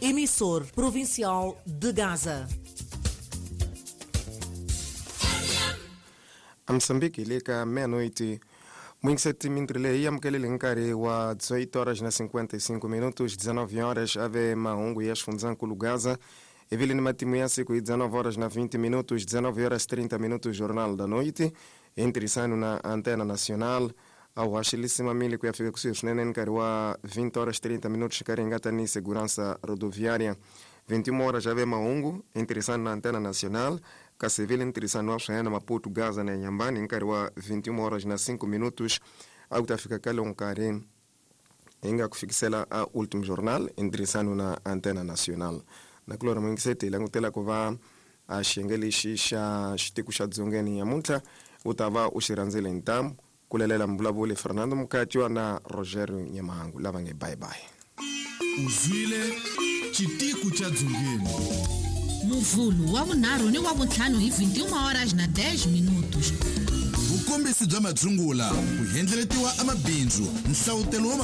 Emissor provincial de Gaza. A Moçambique le ka meia-noite 27 mindrile yi amukelele nkarhi wa 18 horas na 55 minutos, 19 horas ave mahungu ya xifundzankulu Gaza. Ivile ni matimu ya siku hi 19 horas na 20 minutos, 19 horas 30 minutos, Jornal da Noite intirhisano na Antena Nacional. A haxilisimamile ku ya fika kusuhi swinene nkarhi wa 20 horas 30 minutos, nkarhi nga ta ni segurança rodoviária. 21 horas ave mahungu intirhisano na Antena Nacional, kasi vile ntirhisano wa swinene Maputo, Gaza na Nyambani nkarhi wa 21 horas na 5 minutos. A ku ta fika ka lowu nkarhi hi nga ku fikisela a Último Jornal intirhisano na Antena Nacional. Na kulora mwingiseti hi langutela ku va a xiyenge lexi xa xitiko xa dzongeni nyamuntlha u ta va u xi rhandzile hi ntamu. Ku lelela mbulavuli Fernando Mukatiwa na Rogerio Nyamahangu lava nge bye bye. Uzwile xitiku xa dzongeni. Muvhulu wa vunharhu ni wa vuntlhanu hi 21 horas na 10 minutos. Vukombisi bya madzungula ku endleletiwa amabindzu, nhlavutelo wa.